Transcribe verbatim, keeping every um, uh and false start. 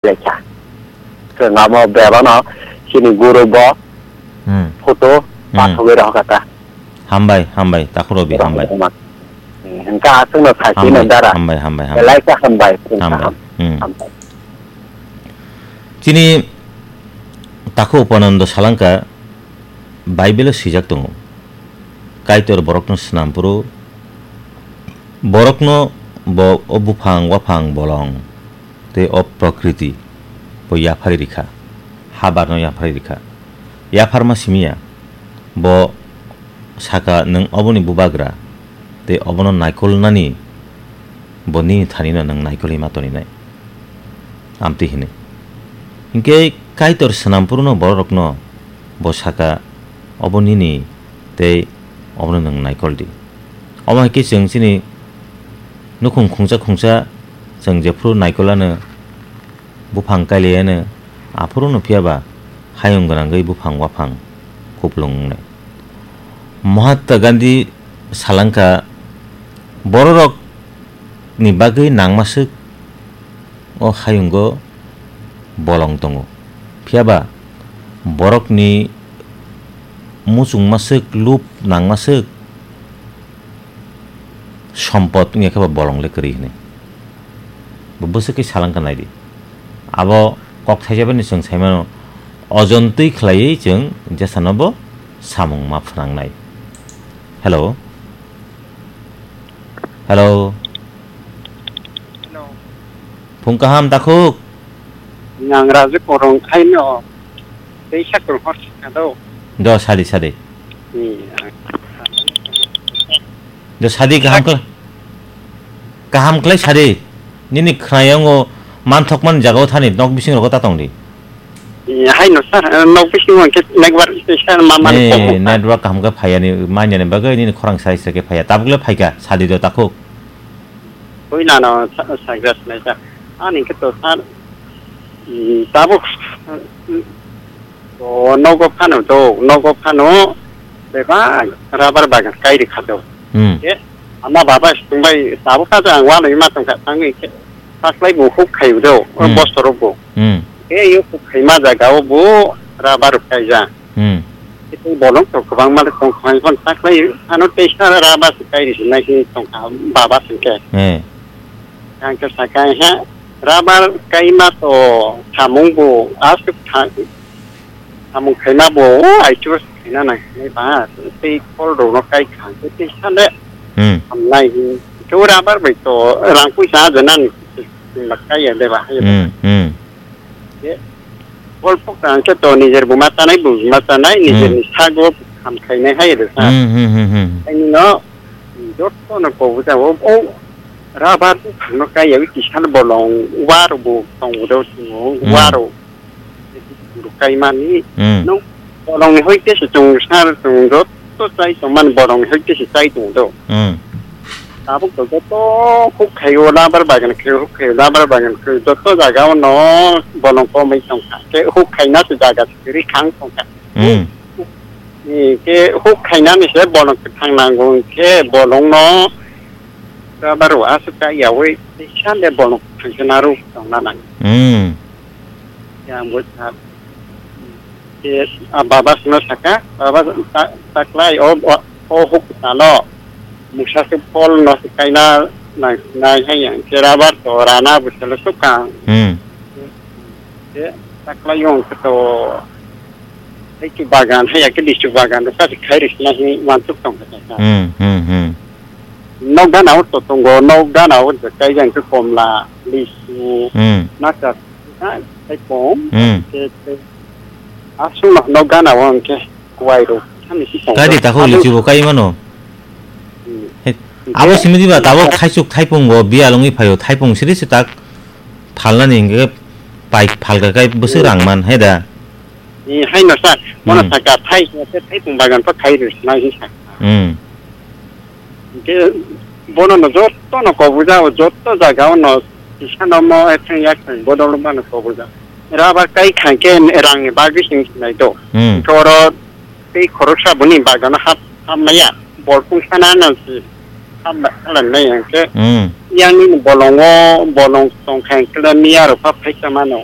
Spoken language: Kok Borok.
lekha. Chwng amo bebano chini guru bo Hmm. photo Hmm. pathogwi rohorkha ta. Hambai, hambai, Takhuk Robi, hambai. Hmm, hwnkha chwngno saisino Hambai, dara. hambai, hambai, hambai. Belai khe hambai, chwng Hambai. kaham. Hmm. Hambai. Chini Takhuk Upanando salangkha, Bible-o swijak tongo, Kaitor borokno swnam phuru, borokno bo o buphang, waphang, bolong tei o prokriti bo yapharwi rikha, habarno yapharwi rikha. Yapharma simi ya, bo saka, "Nwng oboni bubagra, tei obono naikolnani bo nini thanino nwng naikolwi ma toninai." Amtwi hwnwi. Hinkhe Kaitor swnam phuru no bororokno bo saka, "Obo nini tei obono nwng naikol di." Omo hai khe chwng chini nukhung khungsa khungsa chwng jephru naikol ano, buphang kailai ano, aphuru no phiya ba hayung gwnangwi buphang waphang kupulung wngnai. Mahatma Gandhi salangkha, bororok ni bagwi nangmaswk o hayungo bolong tongo. Phiya ba borokni muchungmaswk, lub nangmaswk sompot wngya khe ba bolong le kwrwi hwnwi. Bo bwswk khe salangkha naidi. Abo kok thaisa bani chwng saimano, ojon twi khlaiwi chwng jesano bo samung ma phwnangnai. Hello. Hello. Hello. Phung kaham, Takhuk? Nang Raju Korong khaino. Tei sakol hor sakado. Do sadi, sadi. Hmm. Do sadi kaham khlai. Kaham khlai sadi. Nini khnayango manthokmani jagao thani nok bising rogo ta tongdi. Eh, hai no sir, eh, nok bisingo hwnkhe network sir ma mani Eh, kom. Network kaham khe phaiya ni, manya ni bagwi nini khorang sai se khe phaiya. Tabuk le phaikha, sadi do Takhuk. Oi na no sa-, sagra sinai sir. Ani khe to sir, mm, tabuk, mm, to nogo phano do, nogo phano bebak rubber bagan kai ri kha do. Hmm. Ke ama baba sungbai tabuk kha ang wano ima tong kha tangwi khe. Saklai bo huk khai do, Hmm. Bostor bo. Hmm. Ke yo huk khai ma jaga o bo rubber kai ja. Hmm. Itu bolong to kwbangma le tong khai kon saklai ano tei sara rubber se kai ri sinai khe tong kha baba sing khe. Eh. Ang khe sakai ha rubber kai ma to samung bo asuk tha-, samung khaima bo, o, aichu khaina nang khe ba, tei kol rok no kai kha, tei sale Hmm. hamnai hin. Khe o rubber bai to rang puisa aja nani, ma kai ya de ba, hai ya de ba. Hmm, hmm. Khe kol pok ta khe to nijer buma chanai, buma chanai, nijer Hmm. ni sago ham khainai hai ya de sa. Hmm, hmm, hmm, hmm. Ani no, joto no ko buja o, o rubber buphang no kai ya, wi kisa bolong, wa rok bo tong o do, Hmm. wa rok. Kaimani, Hmm. no, bolongni hoi khe se chwng sar chwng joto chai tongmani bolongni hoi khe se chai tong do. Hmm. Tabuk to joto huk khaio, labar bagan khaio, huk khaio, labar bagan khaio, joto jaga o no bolong komai tong kha. Khe huk khaina se jaga se ri khang tong kha. Hmm. Ni khe huk khainani se bolong kwthang nango, khe bolong no labar o aswk ta yaui, khe sande bolong kwthang se naru tong na nang. Hmm. Yang bo sa, ke, ah, baba sino saka, baba ta-, taklai, o, o, o huk salo, musa se pol no se kaina nai, nai hai yang, ke rabar to rana bo salo suka. Hmm. Ke, taklai yong ke to, hai ke bagan, hai ya ke lisu bagan, sa se khai ris na hi mansuk tong kata. Hmm, hmm, hmm. Nok gana o to tongo, nok gana o je kai jang ke komla, lisu, Hmm. naka, ha, sai pom, Hmm. ke, ke, aswk no, nok gana o hwnkhe kuwai rok, thani si tongo. Kadi takhuk Aswk lichi bo kai mano? Hmm. He, Hwnkhe abo simi diba tabuk thaisuk thaipung bo biyal wngwi phaio, thaipung siri se tak phalnani hwnkhe pai phalka kai bwswk Hmm. rang man, he da? Eh, hai no sir, mono Hmm. saka thai, thaipung bagan to khai rwsnai hi saka. Hmm. Hwnkhe bono no joto no kobuja o, joto jaga o no kisa no mo ethang yak thang bodol ma no kobuja. Raba kai khang khe rang ni bagwi sing sinai do. Hmm. Hwnkhe oro tei khoroksa boni bagano hap, hap maya. Bol pung sana no si. Hambai khalanai hwnkhe, Hmm. yang nini bolongo, bolong tongkha hwnkhe miya rok pha phaisa mano.